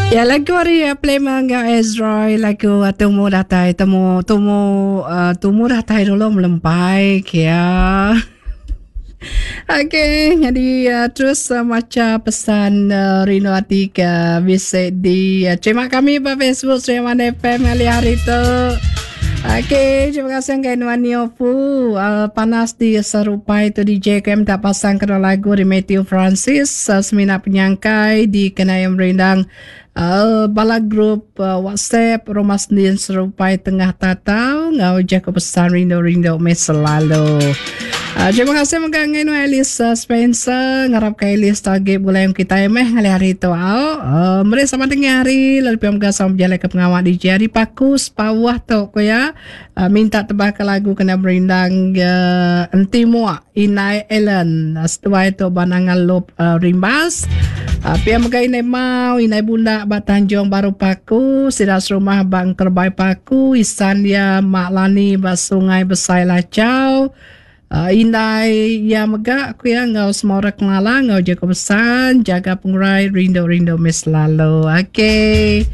Ya lagu ari uh, Plema enggau Ezroy lagu uh, tumu datai temu tumu uh, tumu datai dulu melempai kia. Okey, jadi uh, terus uh, maca pesan uh, rindu ati ke bisi di uh, terima kami ba Facebook Sri Aman FM kali hari tu. Okey, terima kasih ngagai nuan Neo Fu. Uh, panas di Serupai tu DJ KM tak pasang kena lagu di Matthew Francis uh, semina penyangkai di Kenayam Rindang uh, bala grup uh, WhatsApp Rumah Sendin Serupai Tengah Tatau ngau jaku pesan rindu-rindu meh selalu. Uh, terima kasih mega ngagai nuan Alice uh, Spencer ngarap ka Alice tu agi begulai enggau kitai meh ngalih hari tu au. Uh, meri sama tengah hari lalu pia mega sama bejalai ke pengawa DJ hari Paku Sepauh tu ku iya uh, minta tebah ke lagu kena merindang uh, enti muak Inai Ellen uh, seduai tu ba Nanga Lup uh, Rimbas. Uh, pia mega Inai Mau, Inai Bunda ba Tanjung Baru Paku, sida serumah ba Engkerbai Paku, isan iya Mak Lani ba Sungai Besai Lachau. Uh, indai iya mega ku iya enggau semua orang kelala enggau jaku pesan jaga pengurai rindu-rindu meh selalu. Okey.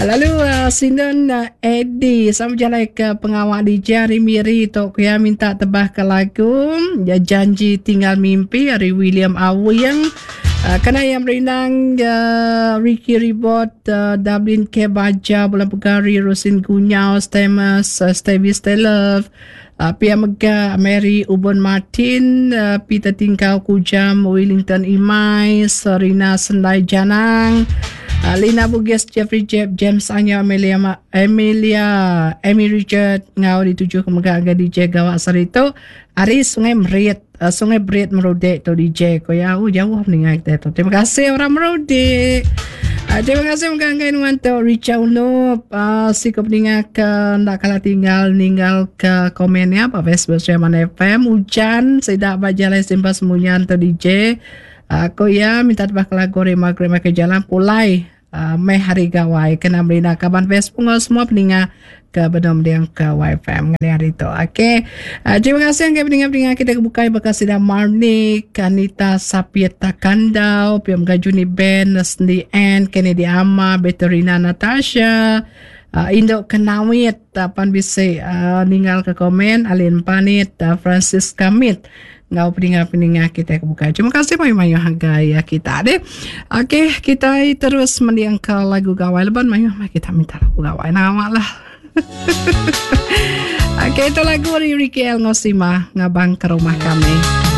Lalu uh, Sindon uh, Eddie sama jalai ke pengawa di Jari Miri tu ku iya minta tebah ke lagu ya janji tinggal mimpi ari William Awing. Uh, kena yang merindang uh, Ricky Ribot, uh, Dublin K. Baja, Bulan Pegari, Rosin Gunyau, Stemus, uh, Stevie Stelove, Pia mega Mary Ubon Martin, Peter Tingkau Kujam, Willington Imai, Serina Sendai Janang, Lina Bugis, Jeffrey Jeb, James Anya, Amelia, Amelia, Amy Richard enggau dituju ke mega ngagai DJ Gawa sehari tu ari Sungai Merit, Sungai Berit Merudek tu DJ ko ya. Oh jauh ninga kita tu. Terima kasih orang Merudek. Uh, terima kasih mega ngagai nuan tu Richard Unup uh, siku peninga ke enda kala tinggal ninggal ke komen ya ba Facebook Sri Aman FM ujan sida ba jalai simpa semunyan tu DJ. Uh, ko ya minta tebah ke lagu ari Margaret Michael Jalan pulai Meh hari gawai kena merina kaban Facebook enggau semua peninga ke benung mending ke YFM ngalih hari tu. Okey. Uh, terima kasih ngagai peninga-peninga kita ke bukai baka sida Marnik, Anita Sapit Takandau, pia mega Juni Ben, Sendi Ann, Kennedy Ama, Beterina Natasha, uh, Induk Kenawit, uh, pan bisi uh, ninggal ke komen, Alin Panit, uh, Francis Kamit. Enggau peninga-peninga kitai ke bukai. Terima kasih mayuh-mayuh hagai ya kita deh. Okey, kita terus mendingka lagu gawai leban mayuh mah kita minta lagu gawai nama lah. Okey, itu lagu dari Ricky L. Ngosima ngabang ke rumah kami.